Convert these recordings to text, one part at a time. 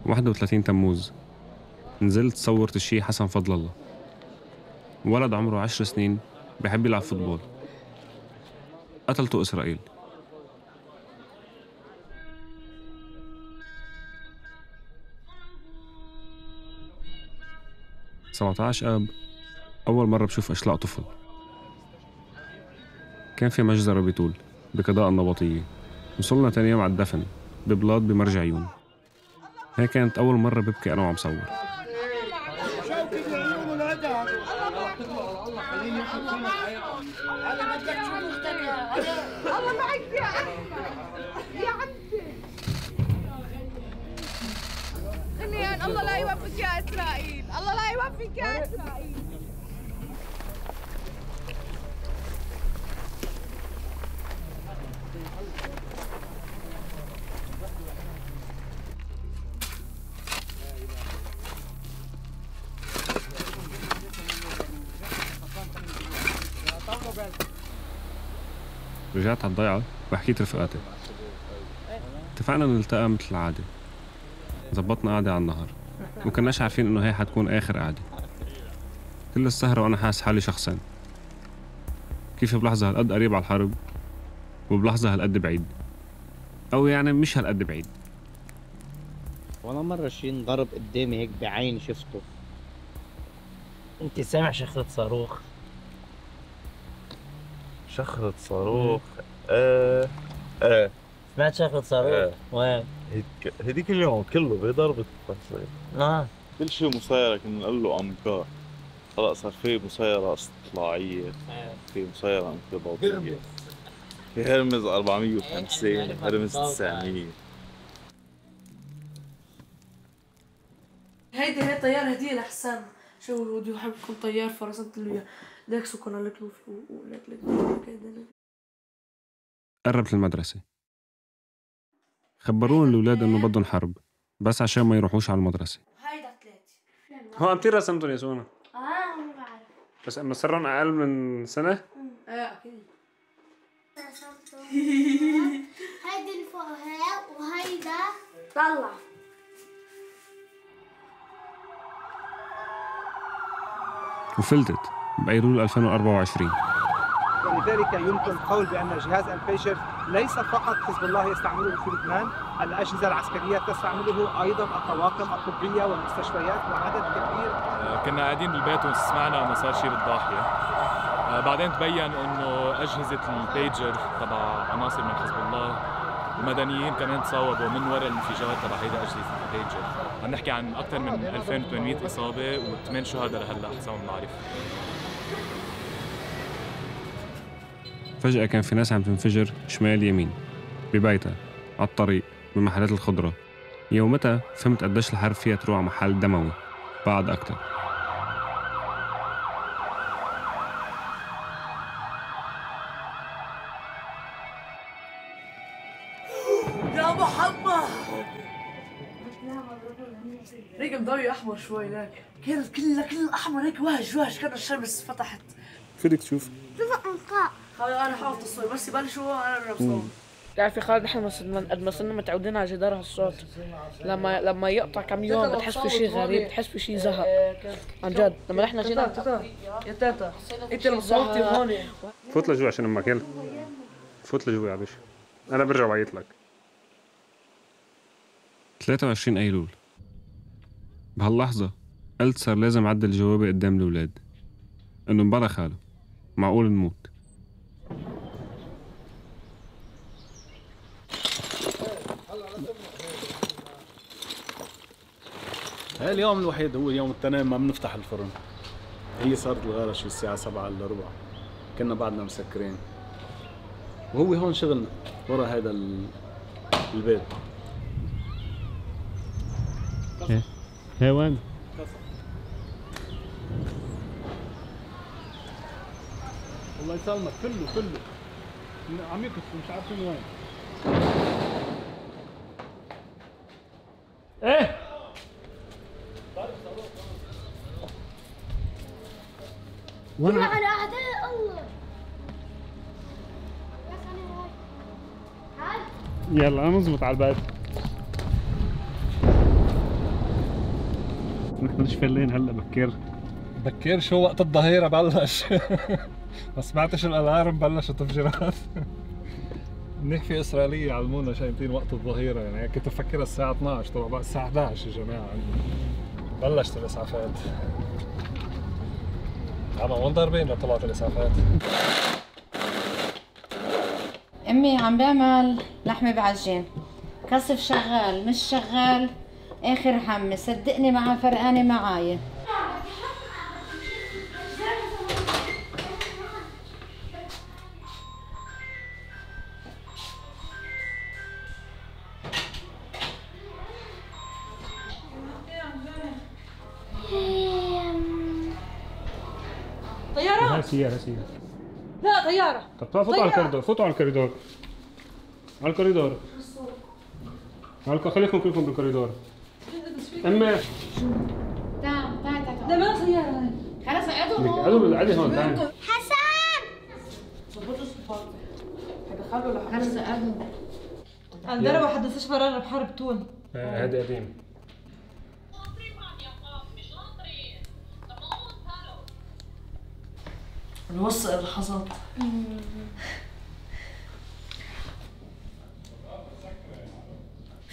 31 تموز نزلت صورت الشيخ حسن فضل الله، ولد عمره 10 سنين بحب يلعب فوتبول، قتلته إسرائيل. 17 آب أول مرة بشوف أشلاء طفل. كان في مجزرة بطول بقضاء النبطية، وصلنا تاني يوم على الدفن ببلاط بمرج عيون. هي كانت أول مرة ببكي أنا وعم صور. الله لا يوفقك يا إسرائيل، الله لا يوفقك يا إسرائيل. رجعت على الضيعة وحكيت رفقاتي، اتفقنا نلتقى مثل العادة. زبطنا قعدة على النهر، وكناش عارفين إنه هي حتكون آخر قعدة. كل السهرة وأنا حاس حالي شخصين، كيف بلحظة هالقد قريب على الحرب وبلحظة هالقد بعيد، أو يعني مش هالقد بعيد. وأنا مرة شي انضرب قدامي هيك بعيني شفته. أنت سامع شخرة صاروخ؟ شخرة صاروخ؟ سمعت شخرة صاروخ؟ وين؟ هديك اليوم كله بضربة نعم. كل شيء مسيرة كنا نقول له أمكار. خلاص صار في مسيرة استطلاعية، في مسيرة انقباضية، في هرمز 450 هرمز 900. هيدي طيارة هدية لحسام. شو بده يحب يكون طيار فرسنت له ليك سكن لك له ولك قربت المدرسة، خبروني الأولاد إنه بدهم حرب بس عشان ما يروحوش على المدرسة. هيدا 3 هو أنتي رسمتهم يا سونا؟ ما بعرف، بس إنه صارن أقل من سنة؟ أكيد. رسمتهم هيدي اللي فوقها وهيدا طلع. وفلتت بأيلول 2024. ولذلك يمكن القول بأن جهاز الفيجر ليس فقط حزب الله يستعمله في لبنان، الأجهزة العسكرية تستعمله أيضا، الطواقم الطبية والمستشفيات وعدد كبير. كنا قاعدين بالبيت وسمعنا أنه صار شيء بالضاحية. بعدين تبين أنه أجهزة البيجر تبع عناصر من حزب الله المدنيين كمان تصوبوا من وراء الانفجار تبع هيدا أجهزة البيجر. عم نحكي عن أكثر من 2800 إصابة و8 شهداء لهلا حسب ما بنعرف. فجأة كان في ناس عم تنفجر شمال يمين ببيتها، على الطريق، بمحلات الخضرة. يومتها فهمت قديش الحرب فيها تروح على محل دموي بعد أكتر. يا محمد رجل ضوي أحمر شوي لك، كان كل أحمر هيك واج كان الشمس فتحت. فيك تشوف؟ أنا حافظ الصور بس يبلشوا أنا بصور. تعرف يا خالد احنا قد ما صرنا متعودين على جدار هالصوت، لما يقطع كم يوم بتحس في شيء غريب، بتحس في شيء زهق عن جد. لما نحن جينا يا تاتا انت اللي صوتي هون. فوت لجوا عشان امك، يلا فوت لجوا يا باشا، انا برجع بعيط لك. 23 ايلول بهاللحظه قلت صار لازم اعدل جوابي قدام الاولاد انه مبلا خاله معقول نموت. هاي اليوم الوحيد هو يوم التنين ما بنفتح الفرن. هي صارت الغارة شي الساعة 7:15، كنا بعدنا مسكرين، وهو هون شغلنا ورا هيدا البيت. هي وين؟ الله يسلمك، كله عم يكسر مش عارفين وين. ايه وانا على اعداء الله. يلا نظبط على الباب. نحن مش فايلين هلا بكير. بكير شو وقت الظهيرة بلش. ما سمعتش الالارم بلشت تفجيرات. منيح في اسرائيلية علمونا شايفين وقت الظهيرة، يعني كنت افكرها الساعة 12 طبعا بقى الساعة 11 يا جماعة. بلشت الاسعافات. وين ضاربين لطلعت الاسعافات؟ امي عم بعمل لحمة بعجين، كسف شغال مش شغال اخر همي، صدقني معها فرقانة معايا. طيارة؟ هاي سيارة. لا طيارة. طب فوتوا على الكوريدور، فوتوا على الكوريدور. على الكوريدور. خليكم كلكم بالكوريدور. امي تعال. لا ما سيارة هاي. خلص اقعدوا هون. قعدوا هون تعالي. حسن ظبطوا الصفار. حيدخلوا لحد خلص اقعدوا. انضربوا حد مستشفى رنا بحرب تون. هذا قديم. الوثق اللي حصل.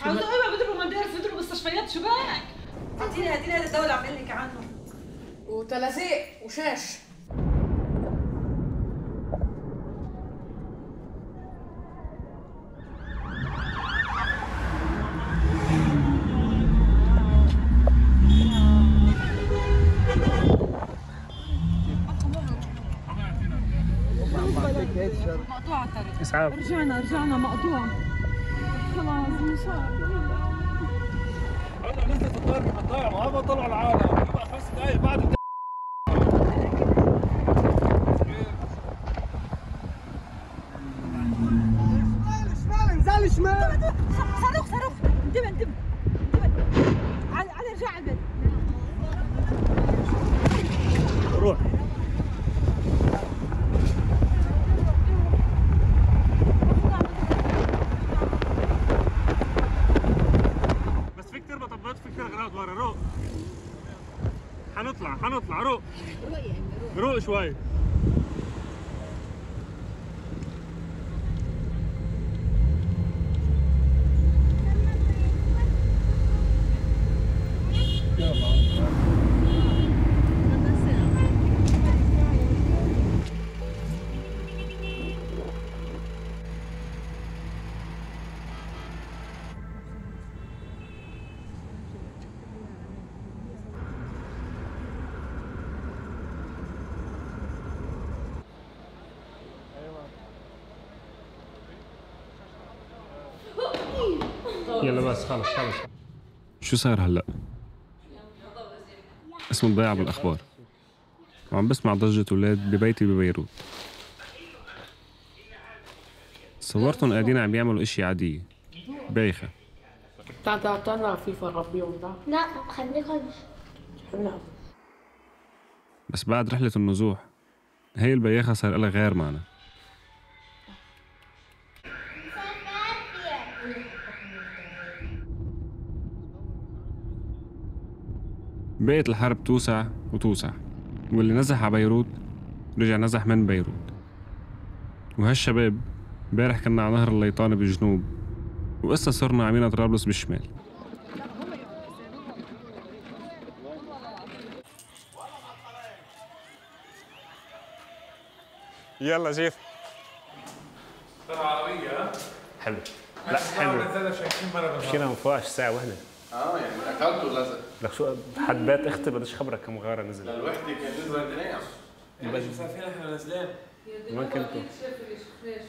عاوزة ايه بيضربوا مدارس بيضربوا مستشفيات شو بك؟ اعطيني هذا الدولة عم بقول لك عنه. وتلازيق وشاش. مقطوعة الطريق. اسعاف. رجعنا مقطوعة. خلاص مش عارف. هلا نزلت الضربة قطاع ما عم طلعوا العالم، يبقى 5 دقايق بعد شمال شمال. صاروخ انتبه على رجع على البيت. روح. بس في كتير مطبات، في كتير غراض ورا. روق. حنطلع روق شوي. يلا بس خلص. شو صار هلا؟ اسمه الضياع بالاخبار، وعم بسمع ضجة اولاد ببيتي ببيروت. صورتهم قاعدين عم يعملوا اشي عادية بايخة. تعال نلعب فيفا نربيهم. لا خليكم نلعب. بس بعد رحلة النزوح هي البياخة صار لها غير معنى. بقت الحرب توسع وتوسع، واللي نزح على بيروت رجع نزح من بيروت. وهالشباب امبارح كنا على نهر الليطاني بالجنوب، وقصة صرنا عمينا طرابلس بالشمال. يلا جيف. طلع عربية. حلو. لا حلو. مشينا من فوقش ساعة واحدة. يعني اكلت ولا زق؟ لك شو حد بيت اختي بديش خبرك كم غارة نزل. للوحدة كان نزل الدنيا. يعني مسافرين احنا نازلين. وين كنتوا؟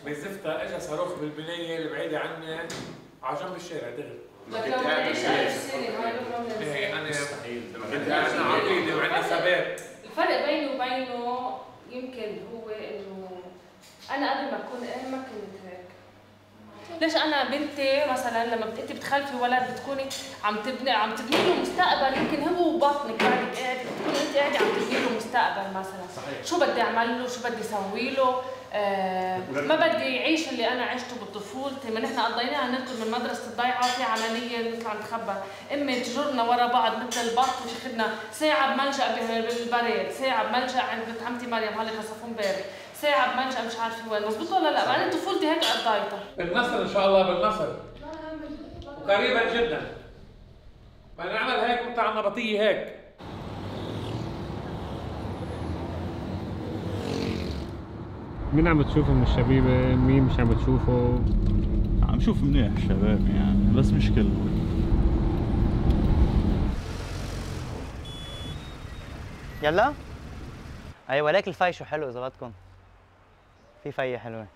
بزفتة اجى صاروخ بالبناية البعيدة عني على جنب الشارع دغري. كنت قاعد انا مستحيل. كنت قاعد انا عقيدة وعندي ثبات. الفرق بيني وبينه يمكن هو انه انا قبل ما اكون ما كنت هيك. ليش انا بنتي مثلا لما انت بتخلفي ولد بتكوني عم تبني له مستقبل، يمكن هو بطنك بعدك قاعده بتكوني انت قاعده عم تبني له مستقبل مثلا. صحيح. شو بدي اعمل له، شو بدي اسوي له، ما بدي يعيش اللي انا عشته بطفولتي، ما نحن قضيناها نركض من مدرسه الضيعه وفي عمليه نطلع نتخبى، امي تجرنا ورا بعض مثل البط وتاخذنا ساعه بملجا بالبريد، ساعه بملجا عند بنت عمتي مريم هلا خصفوا امبارح، ساعه بملجا مش عارفه وين، مزبوط ولا لا؟ انا طفولتي هيك قضيتها. بالنصر ان شاء الله بالنصر وقريبا جدا. بدنا نعمل هيك وانت على النبطيه هيك. مين عم بتشوفه من الشبيبة؟ مين مش عم بتشوفه؟ عم شوف منيح الشباب يعني، بس مش كله. يلا؟ اي ولكن الفي شو حلو اذا بدكم. في فية حلوة.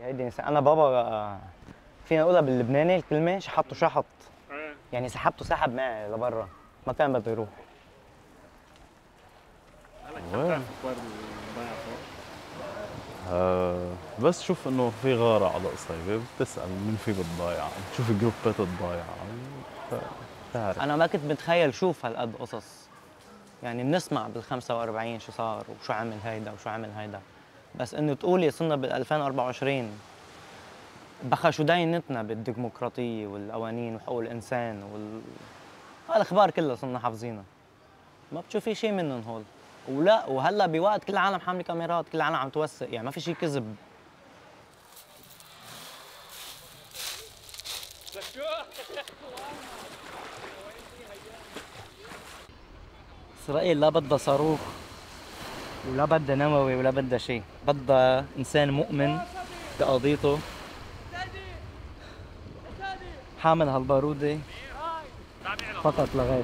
يا هيدي انا بابا فينا نقولها باللبناني الكلمة شحطته شحط. يعني سحبته سحب معي لبرا، ما كان بده يروح. بس شوف انه في غارة على قصيبة، بتسأل مين في بالضايعة، بتشوف جروبات الضايعة، بتعرف. أنا ما كنت متخيل شوف هالقد قصص، يعني بنسمع بال45 شو صار وشو عمل هيدا وشو عمل هيدا، بس إنه تقولي صرنا بال2024 بخا شو داينتنا بالديمقراطية والقوانين وحقوق الإنسان هالأخبار كلها صرنا حافظينها. ما بتشوفي شيء منهم هول. ولا وهلا بوقت كل العالم حامله كاميرات، كل العالم عم توثق، يعني ما في شيء كذب. إسرائيل لا بدها صاروخ ولا بدها نووي ولا بدها شيء، بدها إنسان مؤمن بقضيته حامل هالبارودة فقط لا غير.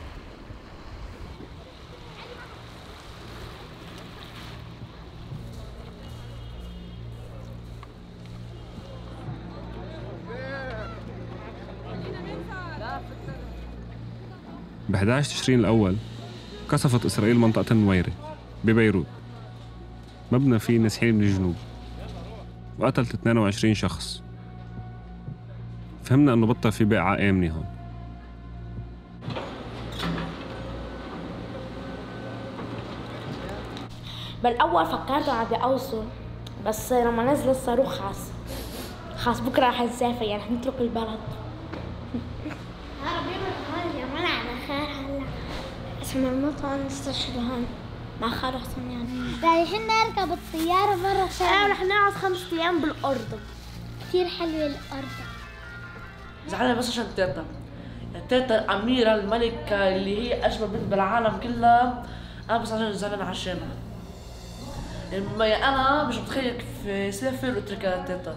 ب 11 تشرين الأول قصفت إسرائيل منطقة النويرة ببيروت، مبنى فيه نازحين من الجنوب، وقتلت 22 شخص. فهمنا إنه بطل في بقعة آمنة هون. بالأول فكرت عادي أوصل، بس لما نزل الصاروخ خلاص بكرة رح نسافر، يعني رح نترك البلد. اسمه المطعم نستشفى هون مع خالو حسن يعني. رايحين نركب الطيارة برا الشارع. رح نقعد 5 أيام بالأردن. كثير حلوة الأردن. زعلانة بس عشان تيتا. تيتا الأميرة الملكة اللي هي أجمل بنت بالعالم كلها، أنا بس عشان زعلانة عشانها. أنا مش متخيل كيف سافر واتركها تيتا.